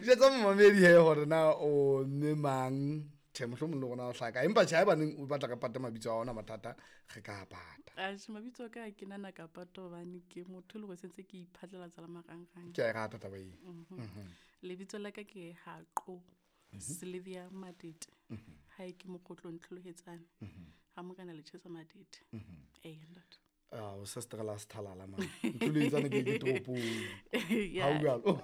Jwetsa momamedi he hore na o mme mang. Tjhe, mohlomong le rona o hlaka. Empa tjhe, haebaneng o batla re pate mabitso a ona mathata, re ka a pata. Atjhe, mabitso a ka ha ke nana ka pata hobane ke motho e le hore sentse ke iphatlalatsa le marangrang. Ke a e rata taba eo. Lebitso la ka ke Haqo Sylvia Matete. Hae ke Mokgotlong Tlholohetsane. Ha Morena Lechesa Matete. Ee, ntate. Ah, o sa seterela sethalala man. Ntlo ke ke toropong. Ha o jwalo.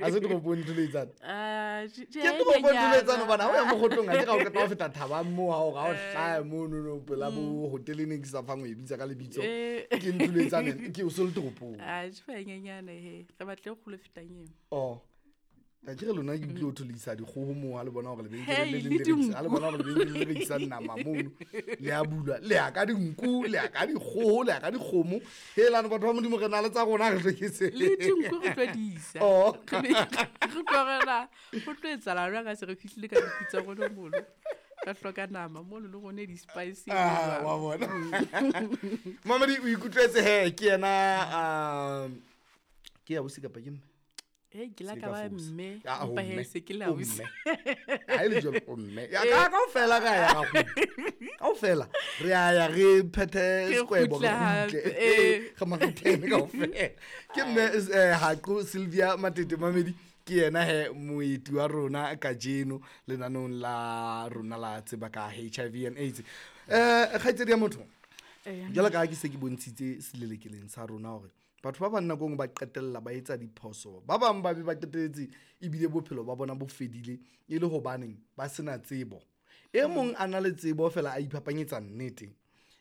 Ha se toropong Ntlo Ah, Ke toropong Ntlo hobane ha o ya Mokgotlong ha ke ga o qeta ho feta thabang moo ha o ga o hlaya mono no pela bo hotel e neng ke sa fang o e bitsa ka lebitso. Ke Ntlo ke o se le toropong. Ah, tjhe, e nyenyane he. Re batle e kgolo e fetang eo. Oh. A ke re lona ke utlwile ho thwe le isa dikgoho moo ha le bona hore lebenkele Hey, le leng le le rekisa, dinku. ha le bona hore lebenkele le rekisang nama mono, le a bulwa, le ya ka dinku, le ya ka dikgoho, le ya ka dikgomo. Helane batho ba Modimo re na le tsa rona re hlwekise. Le dinku re tlo di isa. Oh. Re tlo rela, ho tlo etsahala jwang ha se re fihlile ka dinku tsa rona mono. Re hloka nama mono le rona di-spice. Ah, wa bona. Mamedi o ikutlwetse he ke yena ke ya ausi kapa ke mme? Hey, ke la Se ka ka ba fosa. mme, Ah, o empa he mme. se ke la O ausi. mme. Ha e le jwalo, o mme. Ya, ka kaofela re a ya ra kgutla. Kaofela re a ya re phethe Re sekwebo, re kgutle hape, kgutle. eh. Re maretene kaofela. Ke mme, Haqo Sylvia Matete Mamedi, ke yena he moeti wa rona kajeno lenaneong la rona la tseba ka HIV and AIDS. Kgaitsedi ya motho, jwalo ka ha ke se ke bontshitse selelekeleng sa rona hore batho ba bang nako e nngwe ba qetella ba etsa diphoso, ba bang ba be ba qetelletse ebile bophelo ba bona bo fedile e le hobaneng ba sena tsebo. E mong a na le tsebo fela a iphapanyetsa nnete.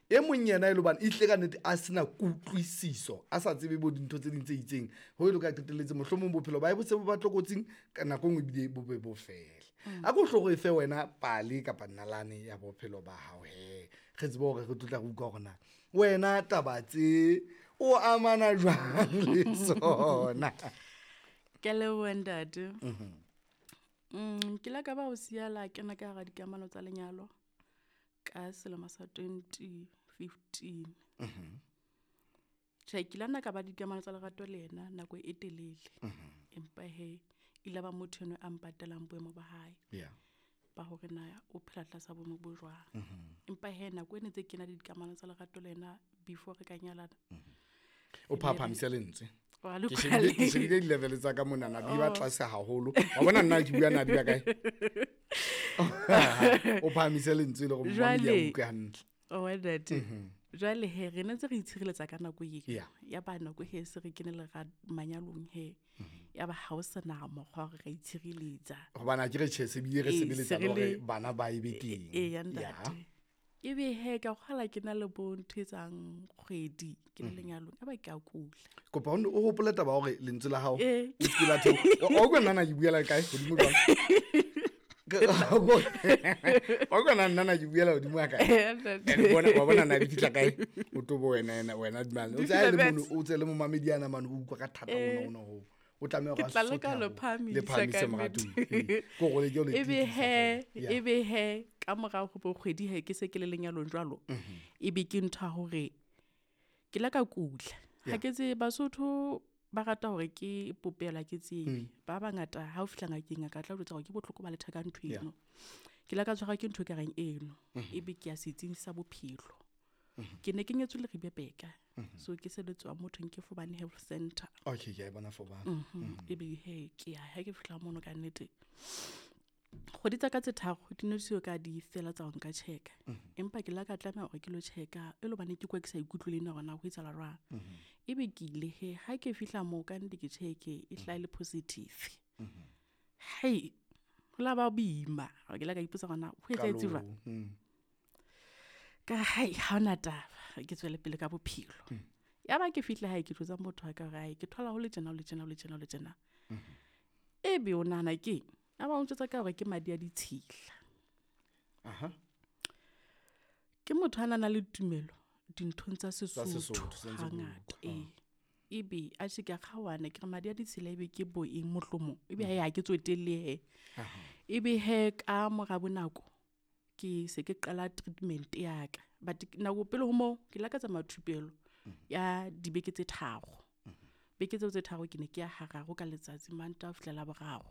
E mong yena e le hobane ehlile ka nnete a sena kutlwisiso, a sa tsebe bo dintho tse ding tse itseng, ho e le ka qetelletse mohlomong bophelo ba hae bo se bo ba tlokotsing, ka nako e nngwe ebile bo be bo fele. A ko hlo re fe wena pale kapa nalane ya bophelo ba hao he, re tsebe hore re tlo tla re utlwa hore na wena taba tse o amana jwang le tsona. Ke a leboha ntate. Ke la ka ba o siya la kena ka hara dikamano tsa lenyalo ka selemo sa 2015. Tjhe, ke la nna ka ba dikamano tsa lerato le yena nako e telele. Empa he, ile ba motho enwa a mpatelang boemo ba hae. Ba hore na o phela tlasa boemo bo jwang. Empa he, nako e ne ntse ke na le dikamano tsa lerato le yena before re ka nyalana. O phaphamise lentswe. Wa le Ke kwale. shebile di-level tsa ka monana, di ba tlase haholo. Wa bona nna ke bua na di ba kae? O phahamise lentswe le hore momamedi a Jwale, utlwe hantle. Oh, ntate. Jwale he, re ne ntse re itshireletsa ka nako eo. Ya ba nako he se re kene le ra manyalong he. Ya ba ha o sena mokgwa wa hore re itshireletsa. Hobane ha ke re tjhe, se bile re Ee, sebeletsa se re le hore le bana ba e be teng. Ee, ya ntate. Ebe he, ka kgola ke na le bo ntho e etsang kgwedi ke le lenyalong, ya ba ke a kula. Kopa o hopole taba ya hore lentswe la hao Ee. o se ke la theoha. Wa utlwa nna na ke buela kae hodimo jwang? Wa utlwa nna na ke buela hodimo ha kae? Ee, ntate. And bona, wa bona na di fihla kae? O tobo wena, wena, wena mane. O Di tse ha e le fihla mono, bets. o tse le momamedi ana mane, o utlwa ka thata Ee. ona, ona hoo. O tlameha Ke hore a tla leka sothe ho le haholo. phahamisa Le phahamise ka moratuwa. nnete. Ee. Ke hore le ke o le Ebe tiisa he, feela. Yeah. ebe he, ka morao ho bo kgwedi he, ke se ke le lenyalong jwalo. Ebe ke ntho ya hore ke la ka kula. Ha ke tsebe, Basotho ba rata hore ke popelo, ha ke tsebe. Ba bangata ha o fihla ngakeng, ngaka tla o jwetsa hore ke bohloko ba letheka ntho eno. Ke la ka tshwarwa ke ntho e ka reng eno. Ebe ke ya setsing sa bophelo. Ke ne ke nyetswe le Ribebeka. So ke sebetswa motho ke Fobane Health Center. Okay, ke a e bona Fobane. Ebe he, ke ya ha ke fihla mono ka nnete. Kgwedi tsa ka tse tharo di ne di so ka di fela tsa ho nka check-a. Empa ke la ka tlameha hore ke lo check-a, e le hobane ke kwa ke sa ikutlwe le nna hore na ho etsahala jwang. Ebe ke ile he, ha ke fihla moo ka nnete ke check-e, e hlaha e le positive. Hei, ho la ba boima. Ke la ka ipotsa hore na ho etsahetse jwang. Qalong, Ka hai, ha hona taba, ke tswele pele ka bophelo. Ya ba ke fihla hae ke jwetsa motho wa ka hore hai, ke thola ho le tjena, ho le tjena, ho le tjena, ho le tjena. Ebe o nahana keng? A ba o ntjwetsa ka hore ke madi a ditshila. Ke motho a nang le tumelo dinthong tsa Tsa Sesotho Sesotho, se ntse hangata. bua. Ee. Ebe a tjhe ke a kgaohana, ke re madi a ditshila ebe ke bo eng mohlomong. Ebe he ha ke tsotelle he. Ebe he ka mora bonako ke se ke qala treatment ya ka. But nako pele ho moo ke la ka tsamaya thupelo ya dibeke tse tharo. Beke tseo tse tharo ke ne ke ya hararo ka letsatsi, Mantaha ho fihla Laboraro.